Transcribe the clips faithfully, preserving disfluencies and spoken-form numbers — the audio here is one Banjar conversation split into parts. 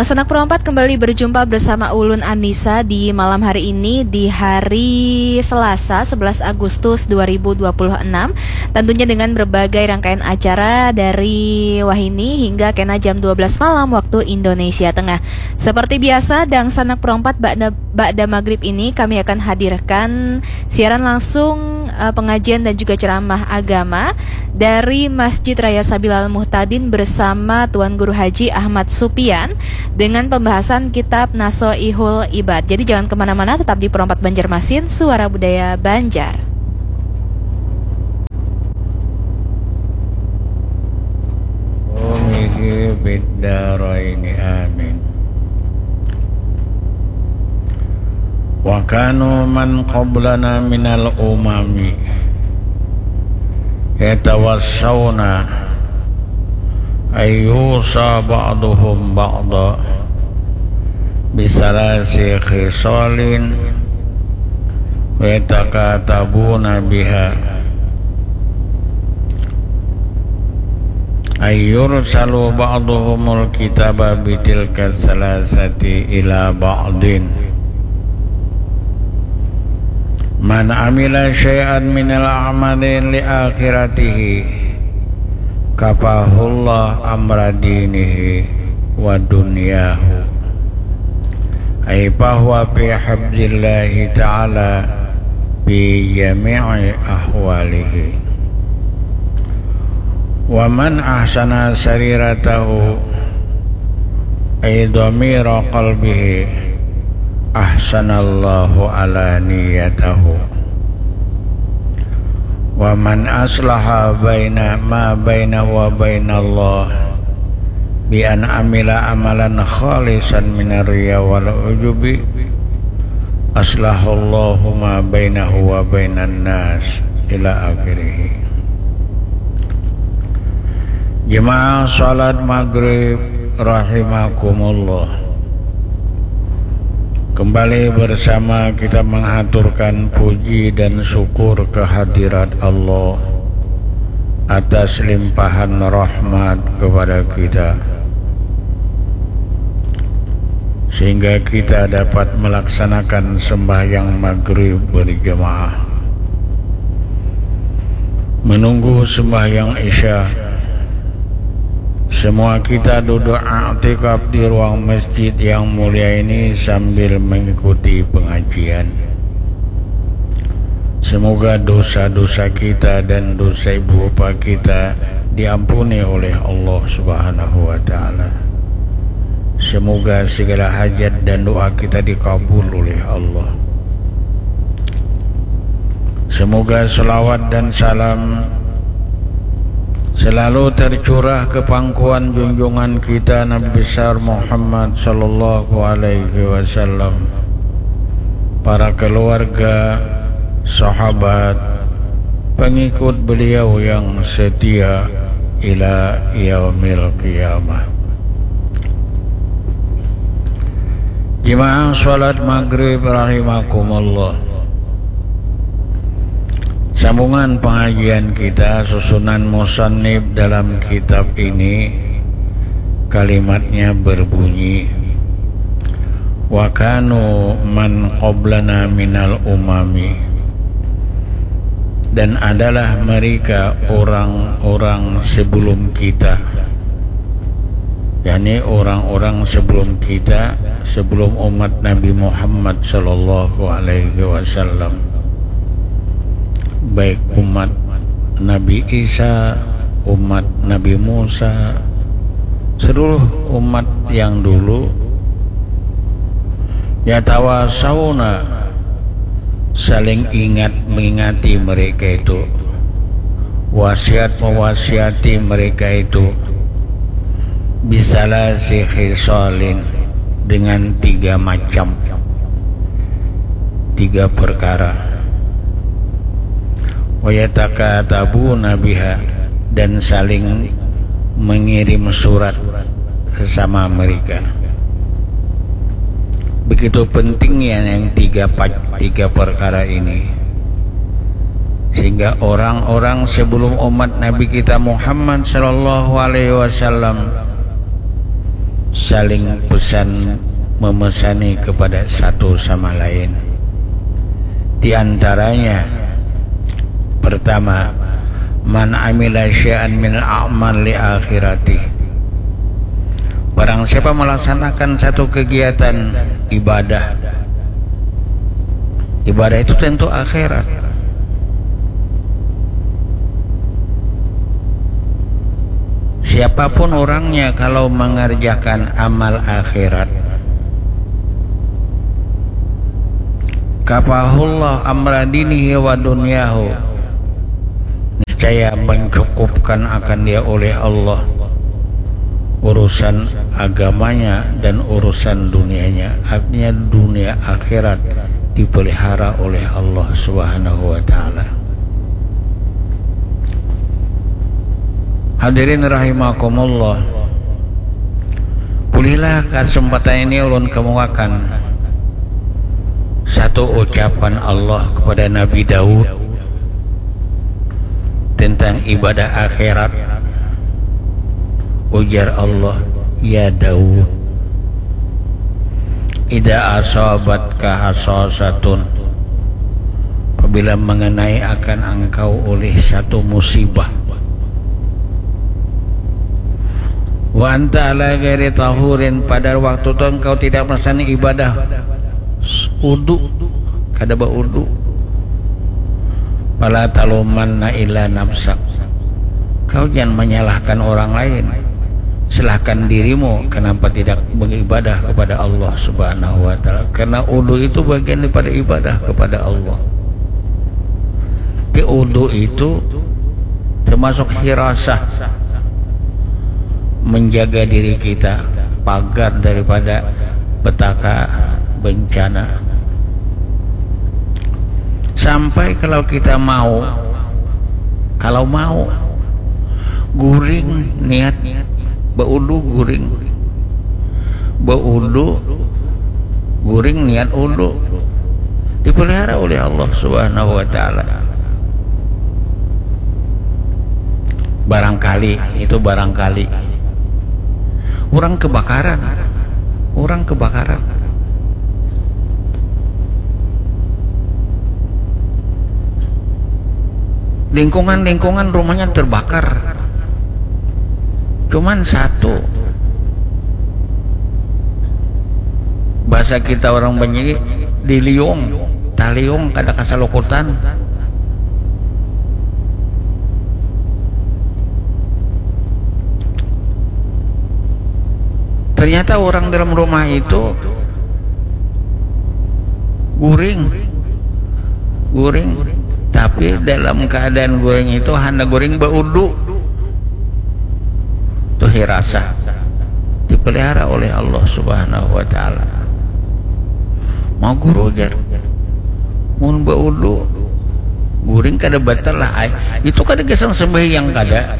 Sanak perompat kembali berjumpa bersama ulun Anissa di malam hari ini di hari Selasa sebelas Agustus dua ribu dua puluh enam. Tentunya dengan berbagai rangkaian acara dari wahini hingga kena jam dua belas malam waktu Indonesia Tengah. Seperti biasa, dangsanak perompat ba'da, ba'da maghrib ini kami akan hadirkan siaran langsung, eh, pengajian dan juga ceramah agama dari Masjid Raya Sabilal Muhtadin bersama Tuan Guru Haji Ahmad Supian dengan pembahasan kitab Nasoihul Ibad. Jadi jangan kemana-mana, tetap di Perompat Banjarmasin, Suara Budaya Banjar. Amin. Wa kanu man qablana minal umami yatawassawna ayyusa ba'duhum ba'da bisalasi khisalin wa yatakatabuna biha ayyursalu ba'duhumul kitaba bitilka salasati ila ba'din. Man amila syai'an minal a'mali li akhiratihi kafahullah amra dinihi wa dunyahu. Ay fahuwa fi hifzillahi ta'ala fi jami'i ahwalihi. Wa man ahsana sariratahu ay dhamira qalbihi ahsanallahu alaniyatahu. Wa man aslaha baina ma bainahu wa bainallah bi an amila amalan khalisan minar riya wal ujubi aslahullahu ma bainahu wa bainan nas ila akhirih. Jemaah salat maghrib rahimakumullah. Kembali bersama kita menghaturkan puji dan syukur kehadirat Allah atas limpahan rahmat kepada kita, sehingga kita dapat melaksanakan sembahyang maghrib berjemaah, menunggu sembahyang isya. Semua kita duduk aktikaf di ruang masjid yang mulia ini sambil mengikuti pengajian. Semoga dosa-dosa kita dan dosa ibu bapa kita diampuni oleh Allah Subhanahu wa Ta'ala. Semoga segala hajat dan doa kita dikabul oleh Allah. Semoga selawat dan salam selalu tercurah ke pangkuan junjungan kita Nabi besar Muhammad sallallahu alaihi wasallam, para keluarga, sahabat, pengikut beliau yang setia ila yaumil qiyamah. Jemaah salat maghrib rahimakumullah. Sambungan pengajian kita, susunan musannif dalam kitab ini, kalimatnya berbunyi, wa kanu man qablana minal umami, dan adalah mereka orang-orang sebelum kita, yakni orang-orang sebelum kita, sebelum umat Nabi Muhammad sallallahu alaihi wasallam, baik umat Nabi Isa, umat Nabi Musa, seluruh umat yang dulu, yatawasauna, saling ingat mengingati mereka itu, wasiat mewasiati mereka itu, bisalasi khisalin, dengan tiga macam, tiga perkara. Wayatakatabuna biha, dan saling mengirim surat sesama mereka. Begitu pentingnya yang tiga pa-, tiga perkara ini, sehingga orang-orang sebelum umat Nabi kita Muhammad sallallahu alaihi wasallam saling pesan memesani kepada satu sama lain. Di antaranya, pertama, man amila syai'an min a'mal li akhirati. Barang siapa melaksanakan satu kegiatan ibadah, ibadah itu tentu akhirat. Siapapun orangnya, kalau mengerjakan amal akhirat, kafahullah amra dinihi wa dunyahu, niscaya mencukupkan akan dia oleh Allah urusan agamanya dan urusan dunianya, artinya dunia akhirat dipelihara oleh Allah Subhanahu wa Ta'ala. Hadirin rahimakumullah, pulihlah kesempatan ini ulun kemukakan satu ucapan Allah kepada Nabi Daud tentang ibadah akhirat. Ujar Allah, "Ya Daud, idza asabatka hasasatun, apabila mengenai akan engkau oleh satu musibah, wa anta ala ghairi tahurin, pada waktu itu engkau tidak melaksanakan ibadah udu, kada baudu, fala talumanna illa nafsak, kau jangan menyalahkan orang lain, salahkan dirimu kenapa tidak beribadah kepada Allah Subhanahu wa Ta'ala, karena udu itu bagian daripada ibadah kepada Allah." Di udu itu termasuk hirasah, menjaga diri kita pagar daripada petaka bencana. Sampai kalau kita mau, kalau mau guring niat baudu, guring baudu, guring niat udu, dipelihara oleh Allah Subhanahu wa Ta'ala. Barangkali, itu barangkali, orang kebakaran, orang kebakaran, lingkungan-lingkungan rumahnya terbakar, cuman satu, bahasa kita orang Banjar, diliung, taliung, kada kasalukutan. Ternyata orang dalam rumah itu guring, guring. Tapi dalam keadaan guring itu hana guring baudu. Itu hirasah, dipelihara oleh Allah Subhanahu wa Ta'ala. Mau guru, jar, mun baudu guring kada batal lah ai. Itu kada gasan sembahyang, kada.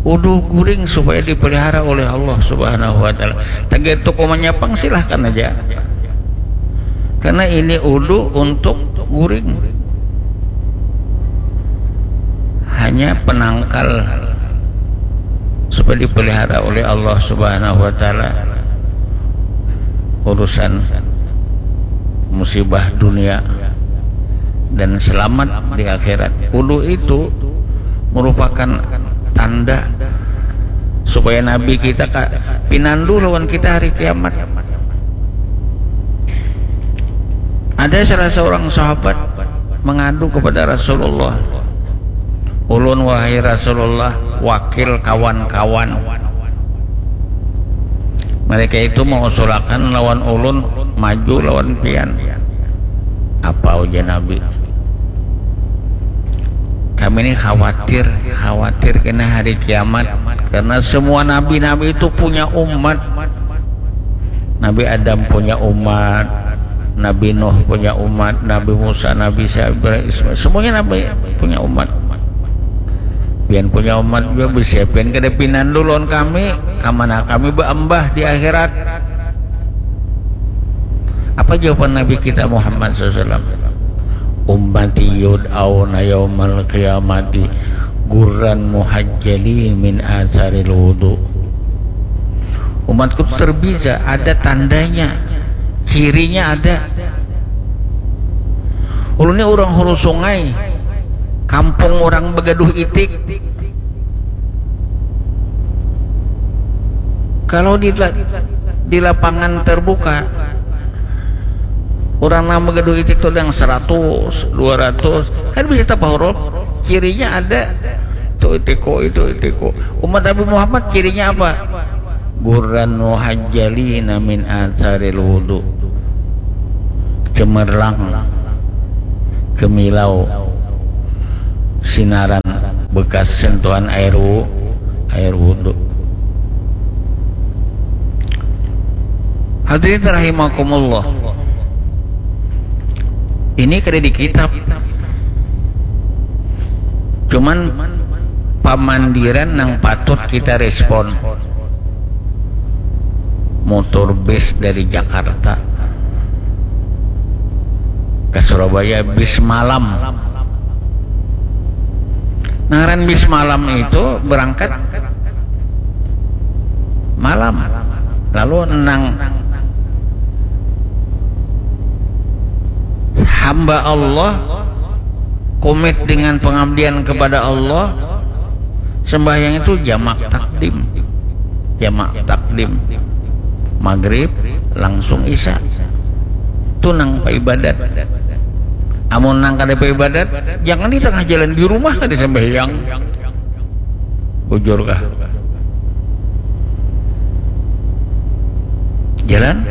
Udu guring supaya dipelihara oleh Allah Subhanahu wa Ta'ala. Tagantung umanya pang, silahkan aja. Karena ini udu untuk guring, hanya penangkal supaya dipelihara oleh Allah Subhanahu wa Ta'ala urusan musibah dunia dan selamat di akhirat. Udu itu merupakan tanda supaya Nabi kita ka pinandu lawan kita hari kiamat. Ada salah seorang sahabat mengadu kepada Rasulullah, "Ulun, wahai Rasulullah, wakil kawan-kawan, mereka itu mengusulakan lawan ulun maju lawan pian." "Apa?" ujar Nabi. "Kami ini khawatir, khawatir kena hari kiamat, karena semua nabi-nabi itu punya umat. Nabi Adam punya umat, Nabi Nuh punya umat, Nabi Musa, Nabi Isa, Ibrahim, Ismail, semuanya nabi punya umat. Pian punya umat juga, bisa pian kada pinandu lawan kami, kamana kami baambah di akhirat?" Apa jawaban Nabi kita Muhammad sallallahu alaihi wasallam? "Ummati yud'auna yaumal qiyamati gurran muhajjalin min asaril wudu." Umatku tu terbiza, ada tandanya, cirinya ada. Ulun ni urang Hulu Sungai, kampung urang bagaduh itik. Kalau di, di lapangan terbuka, urang nang bagaduh itik tu ada yang seratus, dua ratus, kan bisa tapahuruf. Cirinya ada. Itu itiku, itu itiku. Umat Nabi Muhammad cirinya apa? Ghurran muhajjalina min atsaril wudu. Cemerlang, kemilau, sinaran bekas sentuhan air wu-, air wudu. Hadirin rahimakumullah. Ini kada di kitab. Cuman pamandiran nang patut kita respon. Motor bis dari Jakarta ke Surabaya, bis malam. Nah, ngaran bis malam itu berangkat malam. Lalu nang hamba Allah, komit dengan pengabdian kepada Allah, sembahyang itu jamak takdim. Jamak takdim. Maghrib langsung isya. Itu nang paibadat. Amun nang kada paibadat, jangan di tengah jalan, di rumah kada sembahyang. Bujur kah? Jalan.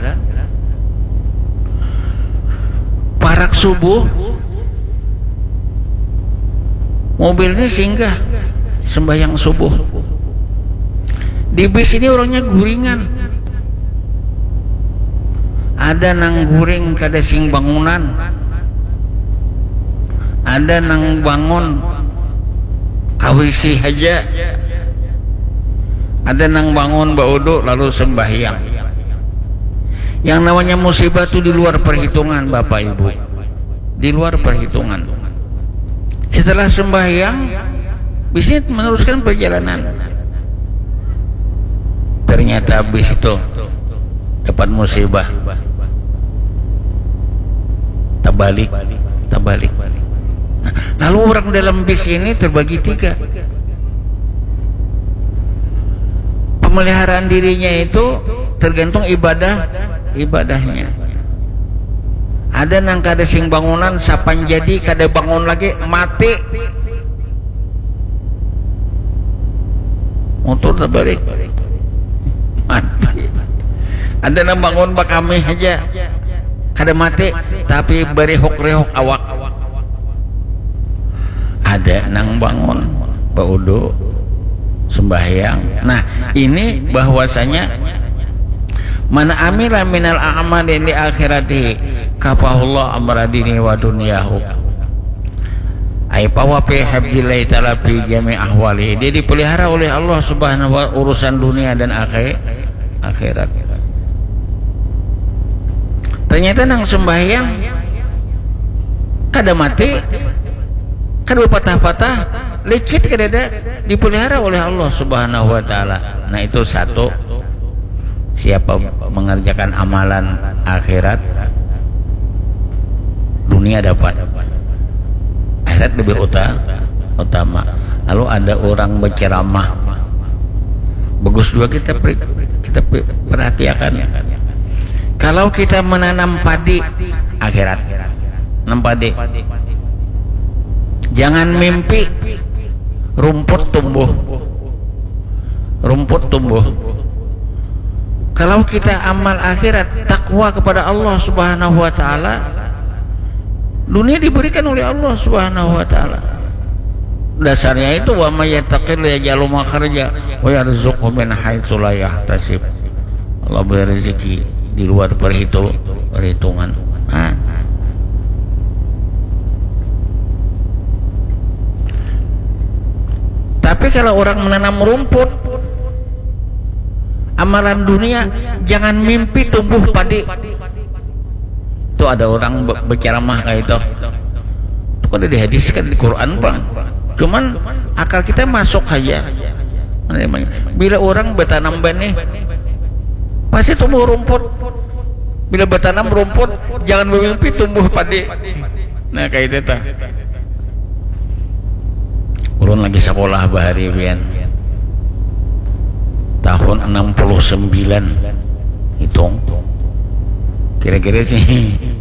Parak subuh, mobil ini singgah sembahyang subuh. Di bis ini orangnya guringan. Ada nang guring kada sing bangunan. Ada nang bangun kawisi haja. Ada nang bangun baudu lalu sembahyang. Yang namanya musibah tu di luar perhitungan, Bapak Ibu. Di luar perhitungan. Setelah sembahyang, bis ini meneruskan perjalanan. Ternyata bis itu dapat musibah. Terbalik, terbalik. Nah, lalu orang dalam bis ini terbagi tiga. Pemeliharaan dirinya itu tergantung ibadah, ibadahnya. Ada nang kada sing bangunan, sapan jadi kada bangun lagi, mati. Motor terbalik. Mati. Ada nang bangun bakami aja. Kada mati, tapi berihuk-rihuk awak. Ada nang bangun, baudu, sembahyang. Nah, ini bahwasanya man amila minal a'mali li akhiratihi kafahullah amra dini wa dunyahu. Ai pawa fi hifzillahi ta'ala fi jami ahwali. Dia dipelihara oleh Allah Subhanahu wa urusan dunia dan akhir, akhirat. Ternyata nang sembahyang kada mati, kada patah-patah, licit kada ada, dipelihara oleh Allah Subhanahu wa taala. Nah, itu satu. Siapa mengerjakan amalan akhirat, dunia dapat, akhirat lebih uta-, utama. Lalu ada orang berceramah, bagus juga kita per-, kita pe-, perhatiakan. Kalau kita menanam padi, akhirat, nanam padi, jangan mimpi rumput tumbuh. Rumput tumbuh. Kalau kita amal akhirat, takwa kepada Allah Subhanahu wa taala, dunia diberikan oleh Allah Subhanahu wa taala. Dasarnya itu, wa may yattaqillah yaj'al lahu makhraja wa yarzuqhu min haitsu la yahtasib. Allah beri rezeki di luar perhitu-, perhitungan. Nah. Tapi kalau orang menanam rumput, amalan dunia, jangan mimpi tumbuh padi. Itu ada orang be-, berceramah kayak itu. Itu kada dihadiskan di Quran pang. Cuman akal kita masuk aja. Bila orang bertanam benih, Pasti tumbuh rumput. Bila batanam rumput, jangan bamimpi tumbuh padi. Nah, kayak itu tah. Ulun lagi sekolah bahari, Bian. Tahun enam puluh sembilan. Hitung. Kira-kira sih,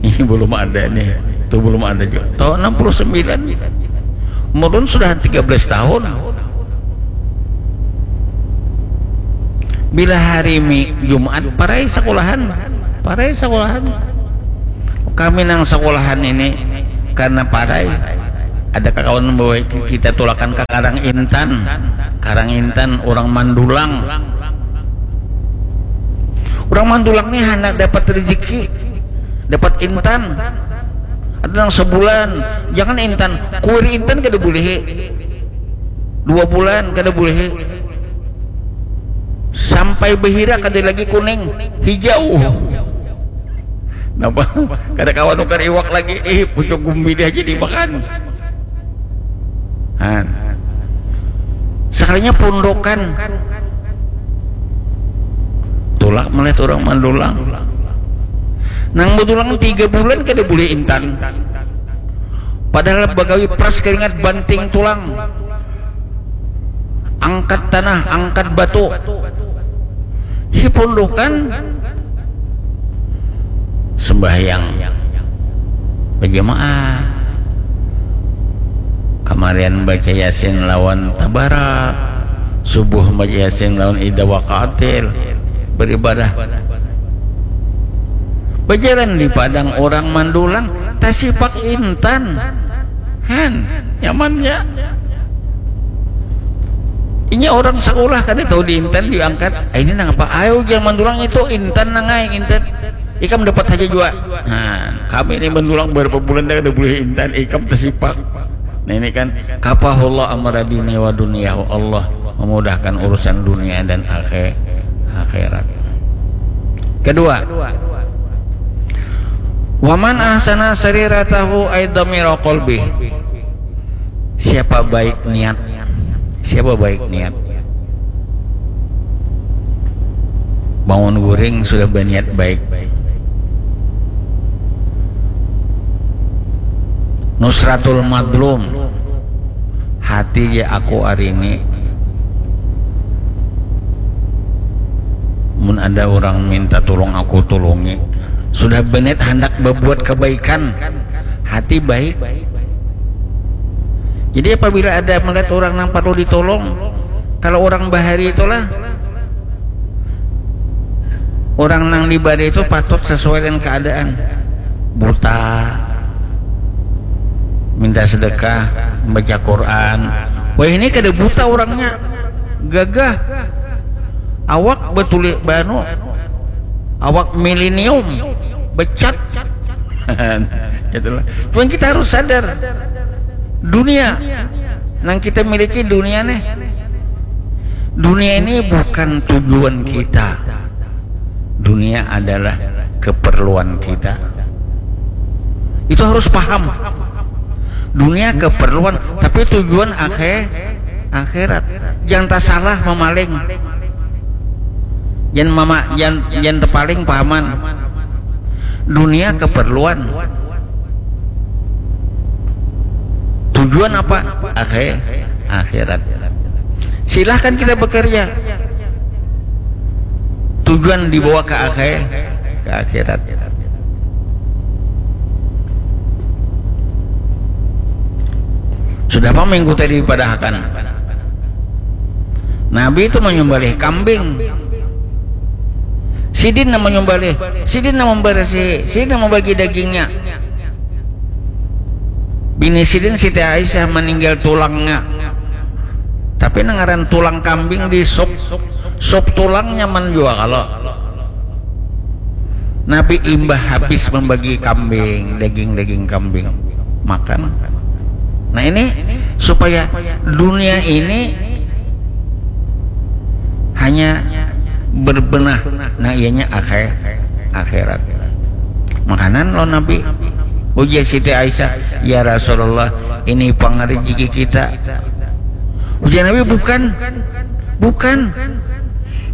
ini belum ada nih. Itu belum ada juga. Tahun enam puluh sembilan. Umur ulun sudah tiga belas tahun. Bila hari Mi-, Jumat, parai sekolahan. Parai sekolahan. Kami nang sekolahan ini karena parai, ada kawan membawa kita tulakan ke Karang Intan. Karang Intan, orang Mandulang. Orang Mandulang nih hendak dapat rezeki, dapat intan. Ada yang sebulan, jangan intan, kuir intan kada boleh. Dua bulan kada boleh. Sampai behira kada lagi kuning, hijau. Napa? Kada kawa nukar iwak lagi. Ih, pucuk gumbili aja dimakan. Han. Sekalinya pundukan. Tulak melihat orang Mandulang. Nang Mandulang tiga bulan kada boleh intan. Padahal bagawi peras keringat banting tulang. Angkat tanah, angkat batu. Si pundukan sembahyang berjamaah. Kamarian baca Yasin lawan Tabarak. Subuh baca Yasin lawan Idza Waqa'atil. Beribadah. Berjalan di padang orang Mandulang, tasipak intan. Han, nyamannya. Inya orang sekolah kada tahu di intan diangkat. Ah, ini nang apa? Ayo, jangan Mandulang itu intan nang ai, intan. Ikam dapat saja jua. Nah, kami ini Mandulang berapa bulan dah kada boleh intan, ikam tasipak. Nah, ini kan, kafahullah amra dini wa dunyahu. Allah memudahkan urusan dunia dan akhir-, akhirat. Kedua, waman ahsana sariratahu ay dhamira qalbih. Siapa baik niat? Siapa baik niat? Bangun guring sudah berniat baik. Nusratul madlum. Hati ja aku hari ini, mun ada orang minta tulung, aku tulungi. Sudah berniat hendak berbuat kebaikan, hati baik. Jadi apabila ada melihat orang yang perlu ditolong, kalau orang bahari itulah, orang nang dibari itu patut sesuai dengan keadaan. Buta, minta sedekah, membaca Quran. Wah, ini kada buta orangnya, gagah. Awak betulik banu, awak milenium, becat. Itulah. Cuman kita harus sadar, dunia nang kita miliki dunia nih, dunia ini bukan tujuan kita. Dunia adalah keperluan kita. Itu harus paham. Dunia keperluan, tapi tujuan akhir, akhirat. Jangan tak salah memaling. Jangan mama, jangan, jangan tepaling pahaman. Dunia keperluan. Tujuan apa? Akhir, akhirat. Silahkan kita bekerja. Tujuan dibawa ke akhir, ke akhirat. Sudah apa minggu tadi dipadahakan? Nabi itu menyembelih kambing. Sidin yang menyembelih, sidin yang membersihi, sidin yang membagi dagingnya. Bini sidin Siti Aisyah meninggal tulangnya. Tapi nang ngaran tulang kambing di sup, sup tulang nyaman jua kalo. Nabi imbah habis membagi kambing, daging-daging kambing. Makan. Nah, ini supaya dunia ini hanya berbenah, nah, ianya akhir, akhirat. Makanan lo Nabi. Ujar Siti Aisyah, "Ya Rasulullah, ini pang rezeki kita." Ujar Nabi, "Bukan, bukan.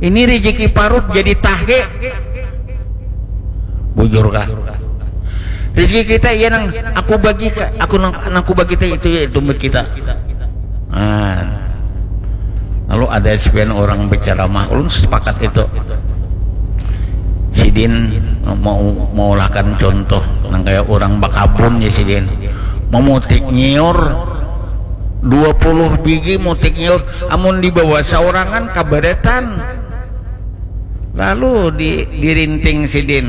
Ini rezeki parut jadi tahe. Bujur kah? Rezeki kita iya nang aku bagi ka, aku nang, nang aku bagi teh itu ya itu buat kita. Nah, lalu ada sebagian orang berceramah, ulun sepakat itu. Sidin mau mengulahkan contoh nang kayak orang bakabun ya sidin. Memutik nyiur dua puluh biji mutik nyiur, amun dibawa saurangan kabaretan. Lalu di, dirinting sidin.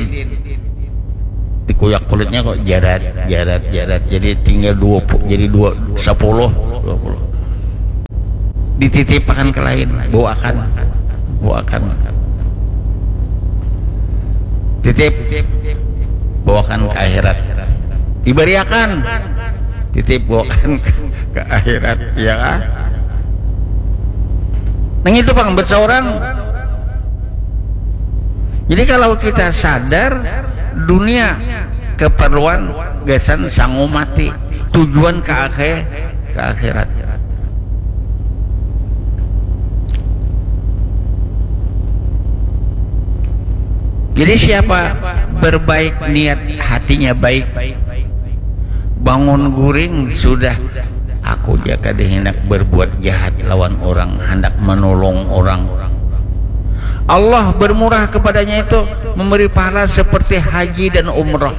Dikuyak kulitnya kok jarat, jarat, jarat. Jadi tinggal dua pu-, jadi dua, sepuluh, dua puluh. Dititip akan ke lain, bawakan, bawakan. Titip, bawakan ke akhirat. Dibariakan, titip, bawakan ke akhirat, ya kan? Nang itu pang buat seorang. Jadi kalau kita sadar, dunia keperluan gasan sangu mati, tujuan ke akhir, ke akhirat. Jadi siapa berbaik niat, hatinya baik, bangun guring sudah, aku jaka dihindak berbuat jahat lawan orang, hendak menolong orang. Allah bermurah kepadanya itu, memberi pahala seperti haji dan umroh.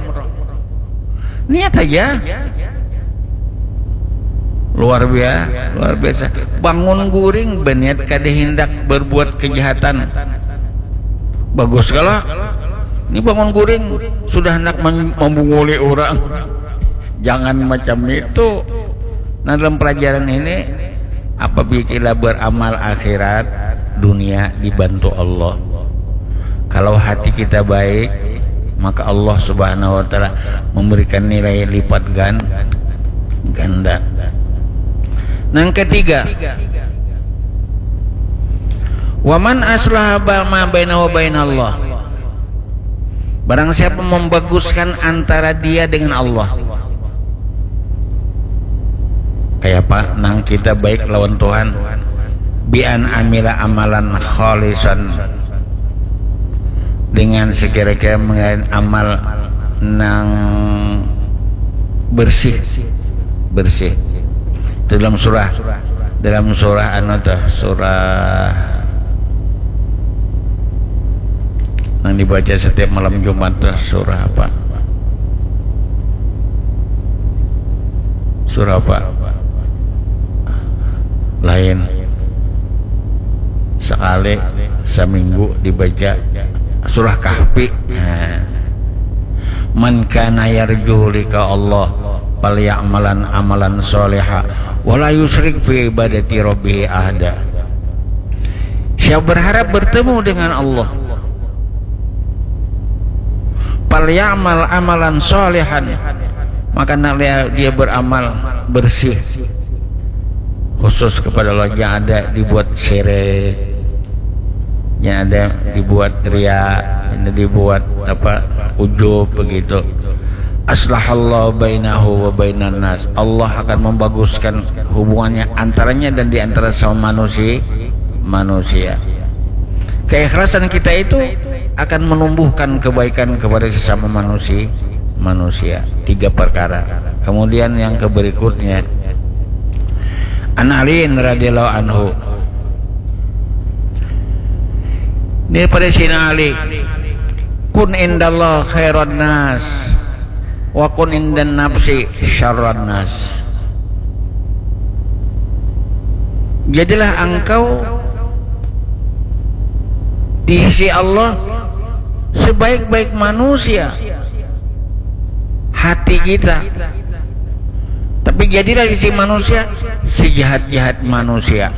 Niat aja. Luar biasa, luar biasa. Bangun guring berniat kada hendak berbuat kejahatan. Bagus kalau ini bangun guring sudah hendak mem-, membunguli orang. Jangan macam itu. Nah, dalam pelajaran ini, apabila kita beramal akhirat, dunia dibantu Allah. Kalau hati kita baik, maka Allah Subhanahu wa Ta'ala memberikan nilai lipat gan-, ganda. Yang ketiga, waman aslaha ba-, ma bainahu wa bainallah. Barang siapa membaguskan antara dia dengan Allah. Kayak apa nang kita baik lawan Tuhan? Bi an amila amalan khalisan, dengan sekira-kira mengalir amal nang bersih, bersih. Itu dalam surah, dalam surah anu tuh, surah nang dibaca setiap malam Jumat tuh, surah apa? Surah apa? Lain. Sekali seminggu dibaca surah Kahfi. Nah. Man kana yarju lika Allah, falyamalan amalan soleha, wala yusrik fi ibadati rabbihi ahada. Siapa berharap bertemu dengan Allah, falyamal amalan solehan, maka hendaklah dia beramal bersih, khusus kepada Allah, jangan ada dibuat syirik, jangan ada dibuat ria, jangan ada dibuat apa, ujub begitu. Aslahallahu bainahu wa bainan nas. Allah akan membaguskan hubungannya antaranya dan di antara sama manusia, manusia. Keikhlasan kita itu akan menumbuhkan kebaikan kepada sesama manusia, manusia. Tiga perkara. Kemudian yang keberikutnya, An Aliin radhiyallahu anhu. Ini pada Sayyidina Ali. Kun indallah khairan nas, wa kun indan nafsi syarran nas. Jadilah engkau di sisi Allah sebaik-baik manusia, hati kita. Tapi jadilah di sisi manusia sejahat-jahat manusia.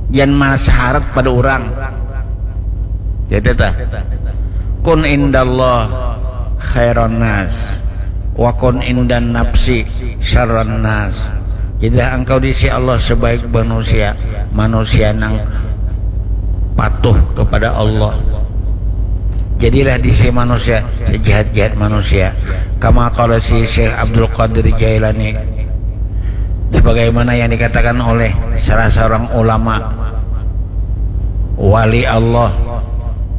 Jangan malas harat pada orang. Jadi tah. Kun indallah khairan nas, wa kun indan nafsi syarran nas. Jadilah engkau di sisi Allah sebaik manusia, manusia nang patuh kepada Allah. Jadilah di sisi manusia sejahat-jahat manusia. Kama qala si Syekh Abdul Qadir Jailani, sebagaimana yang dikatakan oleh salah seorang ulama, Wali Allah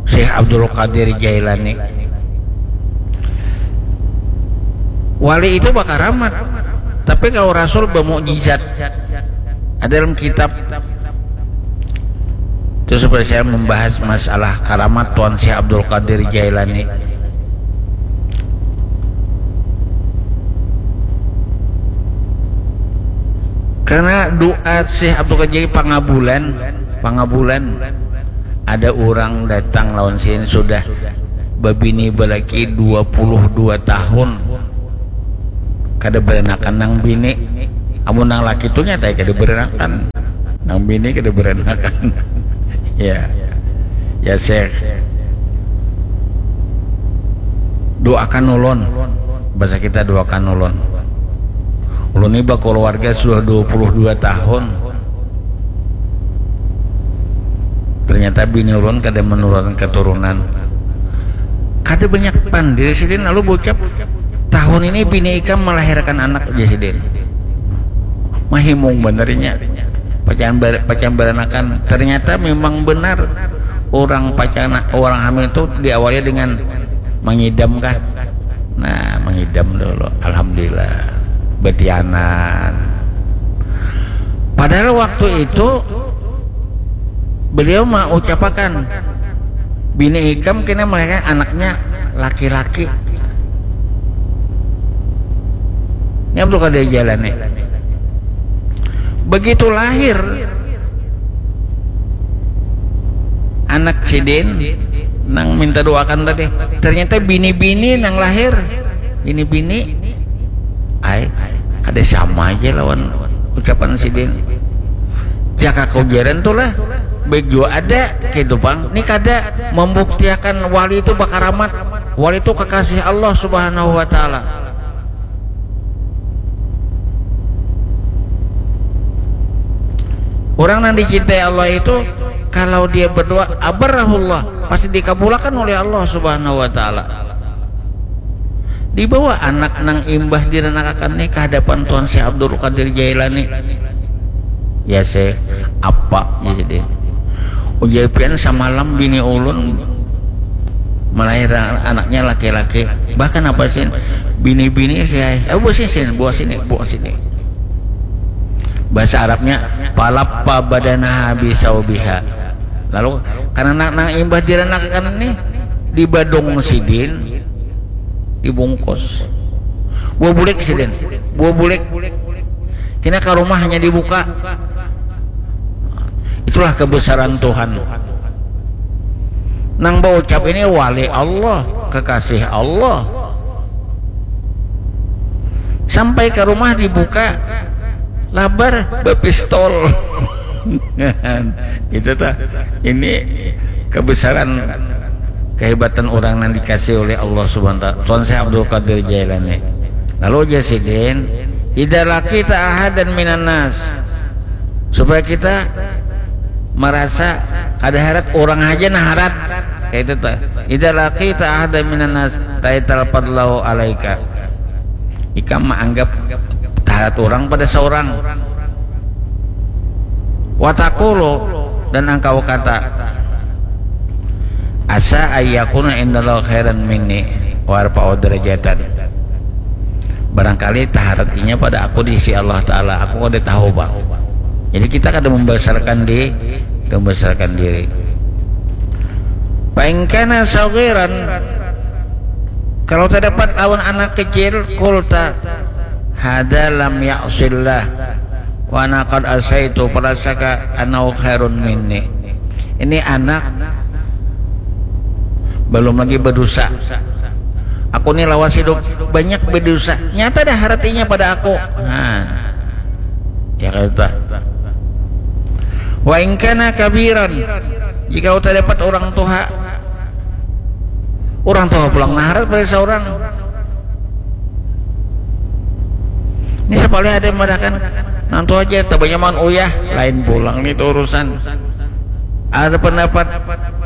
Syekh Abdul Qadir Jailani. Wali itu bakaramat, tapi kalau Rasul bermukjizat. Ada dalam kitab itu seperti saya membahas masalah karamat Tuan Syekh Abdul Qadir Jailani. Karena doa Syekh Abdul Qadir pangabulan, pangabulan. Ada orang datang lawan sini sudah babini balaki dua puluh dua tahun. Kada beranakan nang bini. Amun nang laki tu nyata kada beranakan. Nang bini kada beranakan. Ya. Ya, Syekh. Doakan ulun. Bahasa kita, doakan ulun. Ulun ni bakeluarga sudah dua puluh dua tahun. Ternyata bini ulun kada menurunkan keturunan. Kada banyak pandir sidin lalu bocap, tahun ini bini ikam melahirkan anak, ujar sidin. Mahimung benernya. Pacan bar, pacan baranakan. Ternyata memang benar orang pacan, orang hamil itu diawali dengan mengidam kah? Nah, mengidam dulu. Alhamdulillah. Betianan. Padahal waktu itu beliau mau ucapakan, bini ikam kena melahirkan anaknya laki-laki. Ini Abdul Qadir Jailani. Begitu lahir anak sidin nang minta doakan tadi, ternyata bini-bini nang lahir, bini-bini, ai, kada sama aja lawan ucapan sidin. Jaka kujaran tu lah, baik jua ada, gitu pang. Ni kada membuktiakan wali itu bakaramat, wali itu kekasih Allah Subhanahu wa Ta'ala. Orang yang dicintai Allah itu, kalau dia berdoa, abarrahullah, pasti dikabulakan oleh Allah Subhanahu wa Ta'ala. Dibawa anak nang imbah diranakakan ni ke hadapan Tuan Syekh Abdul Qadir Jailani. Ya, Syekh, apa? Jadi, ujar pian, samalam bini ulun melahirkan anaknya laki-laki. Bahkan apa sih? Bini-bini sih, eh, buat sini, sini, buat sini, buat sini. Bahasa Arabnya, falaffa badanaha bisaubiha. Lalu, karena nang, nang imbah diranakakan nih, dibadung sidin, dibungkus. Buah bulik sidin, buah bulik. Kena ke rumah hanya dibuka. Itulah kebesaran Tuhan. Nang baucap ini wali Allah, kekasih Allah. Sampai ke rumah dibuka, labar bepistol. Itu ta. Ini kebesaran, kehebatan orang yang dikasih oleh Allah Subhanahu wa Ta'ala. Tuan Syekh Abdul Qadir Jailani. Lalu aja sidin, "Idza laqita ahadan minan nas." Supaya kita merasa kada harat, orang aja nah harat. Kayak itu ta. "Idza laqita ahadan minan nas, raital fadlahu alaika." Ikam menganggap taharat orang pada seorang. Watakulu, dan engkau kata, "Asa ayyakuna indallah khairan minni wa arfa'u darajatan." Barangkali taharat inya pada aku di sisi Allah Ta'ala, aku kada tahu, Bang. Jadi kita kada membesarkan di, membesarkan diri. Fa in kana saghiran, kalau terdapat lawan anak kecil, kulta, "Hada lam ya'sillah, wa ana qad asaitu, falasaka anau khairun minni." Ini anak belum lagi berdosa. Aku ni lawas hidup banyak berdosa. Nyata dah artinya pada aku. Nah, ya kata. "Wa in kana kabiran." Jika uta dapat orang tuha, orang tuha pulang naharat pada seorang. Ini sapalih ada yang mengatakan, "Nantu aja, tabanyaman uyah, lain pulang nih itu urusan." Ada pendapat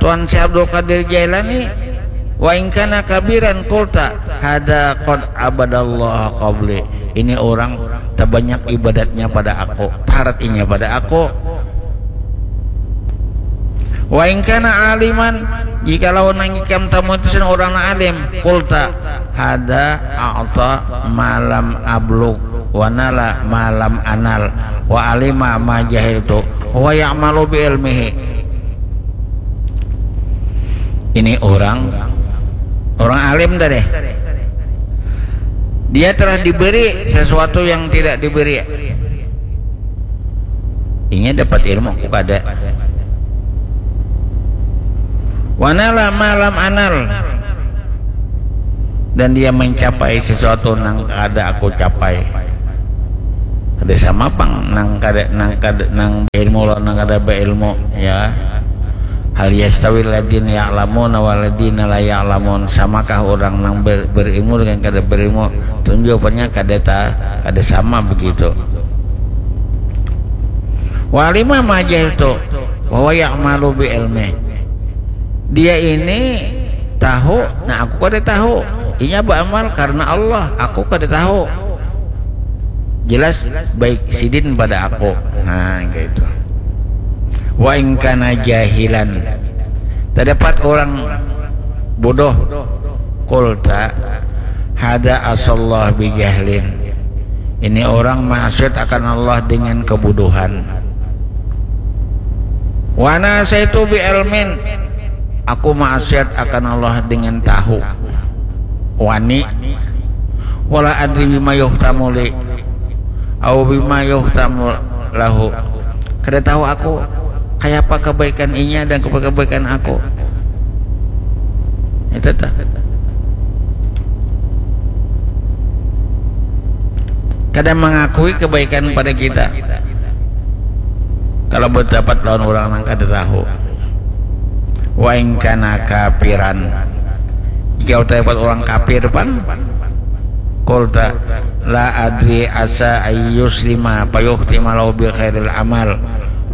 Tuan Syekh Abdul Qadir Jailani, "Wa in kana kabiran kulta, hada qad abadallah qabli." Ini orang terbanyak ibadatnya pada aku, taharat inya pada aku. Wa in kana aliman, jikalau nang ikam tamu itu sen orang nang alim, qulta, hada a'ta ma lam ablug, wa nala ma lam anal, wa alima ma jahiltu, wa ya'malu bi ilmihi. Ini orang, orang alim tadi. Dia telah diberi sesuatu yang tidak diberi. Inya dapat ilmu, aku kada. Wa nala ma lam anal. Dan dia mencapai sesuatu nang kada aku capai. Kada sama pang nang kada, nang kada, nang berilmu lawan nang kada berilmu, ya. Hal yastawi alladzina ya'lamuna walladzina la ya'lamun? Samakah orang nang ber-, berilmu dengan kada berilmu? Tentu jawabannya kada ta-, kada sama begitu. Wa alima ma jahiltu, wa huwa ya'malu bi ilmi. Dia ini tahu, nah aku kada tahu. Inya beramal karena Allah, aku kada tahu. Jelas baik sidin pada aku. Nah, kayak itu. Wa in kana jahilan. Terdapat orang bodoh. Qulta, hada asallah bi jahlin. Ini orang maksiat akan Allah dengan kebodohan. Wa ana asaitu bi ilmin. Aku maksiat akan Allah dengan tahu. Wani. Wala adri bima yuhtamu li. Au bima yuhtamu lahu. Kada tahu aku kayapa kebaikan inya dan kebaikan aku. Itu ta. Kada mengakui kebaikan pada kita. Kalau berdapat lawan orang nang kada tahu. Wa in kana kafiran. Jika terdapat orang kafir pang, qulta, la adri asa ayyuslima fayuhtima lahu bi khairil amal.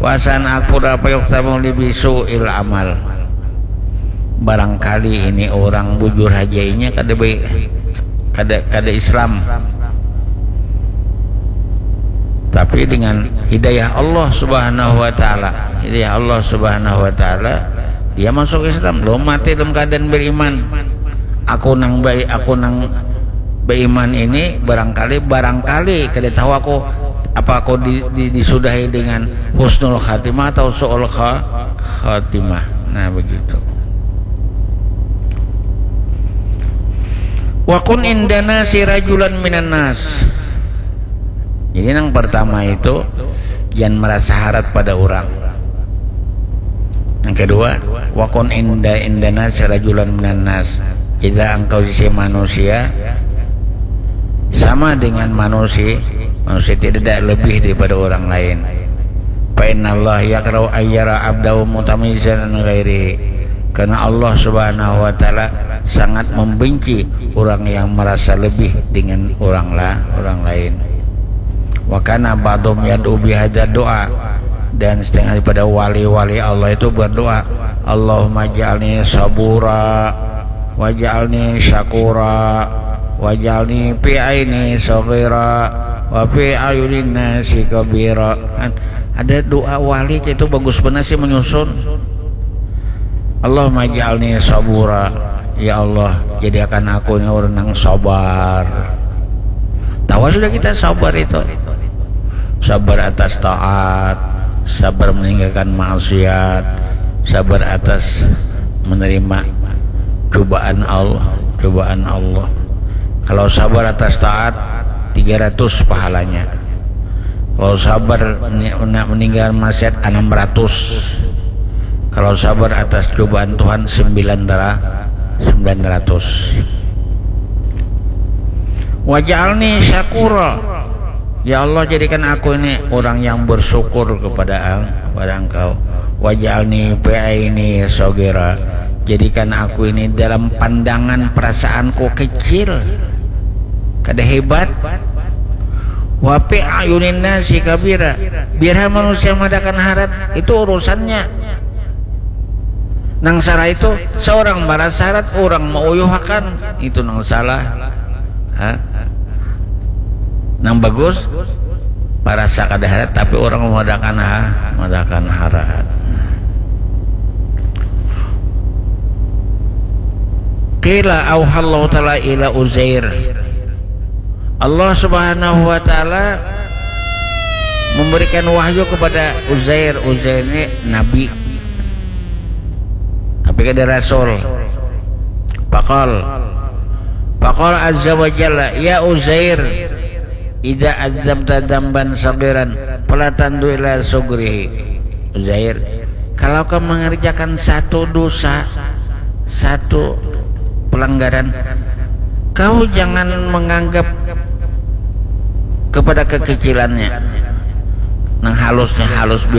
Wa asa an akfura fayuhtamu li bi su'il amal. Barangkali ini orang bujur haja inya kada baik, kada, kada Islam. Tapi dengan hidayah Allah Subhanahu wa taala, hidayah Allah Subhanahu wa taala, dia masuk Islam, belum mati dalam keadaan beriman. Aku nang baik, aku nang beriman ini barangkali, barangkali kada tahu aku apa aku di, di, disudahi dengan husnul khatimah atau su'ul kha-, khatimah. Nah, begitu. Wa kun indana si rajulan minan nas. Jadi yang pertama itu, jangan merasa harat pada orang. Yang kedua, wa kun inda indana si rajulan minan nas. Jadilah engkau sisi manusia sama dengan manusia, manusia tidak ada lebih daripada orang lain. Fa innallaha yakrahu ayyara abdahu mutamayyizan an ghairi. Karena Allah Subhanahu wa taala sangat membenci orang yang merasa lebih dengan orang la-, orang lain. Wa kana ba'dhum yad'u bihadza du'a. Dan setengah daripada wali-wali Allah itu berdoa, Allahumma ja'alni sabura, waj'alni syakura, waj'alni fi aini saghira, wa fi ayunin nasi kabira. Kan ada doa wali itu bagus benar sih menyusun. Allahumma ja'alni sabura. Ya Allah, jadikan aku ini orang yang sabar. Tahu sudah kita sabar itu. Sabar atas taat, sabar meninggalkan maksiat, sabar atas menerima cobaan Allah, cobaan Allah. Kalau sabar atas taat, tiga ratus pahalanya. Kalau sabar ni-, nak meninggal maksiat, enam ratus. Kalau sabar atas cobaan Tuhan, sembilan dara-, sembilan ratus. Waj'alni syakura. Ya Allah, jadikan aku ini orang yang bersyukur kepada Eng-, kepada Engkau. Waj'alni fi aini saghira. Jadikan aku ini dalam pandangan perasaanku kecil. Kada hebat. Wa fi ayunin nasi kabira. Biar manusia madakan harat, itu urusannya. Nang salah itu, seorang merasa harat, orang meuyuhakan, itu nang salah. Ha? Nang bagus, merasa kada harat, tapi orang madakan ha-, madakan harat. Qila auhallahu ta'ala ila Uzair. Allah Subhanahu wa taala memberikan wahyu kepada Uzair. Uzair ini nabi. Tapi kada rasul. Faqal. Faqal azza wa jalla, "Ya Uzair, idza adzamta dzamban saghiran fala tandu ila sugrihi." Uzair, kalau kau mengerjakan satu dosa, satu pelanggaran, kau jangan menganggap kepada kekecilannya. Nang halusnya halus biasa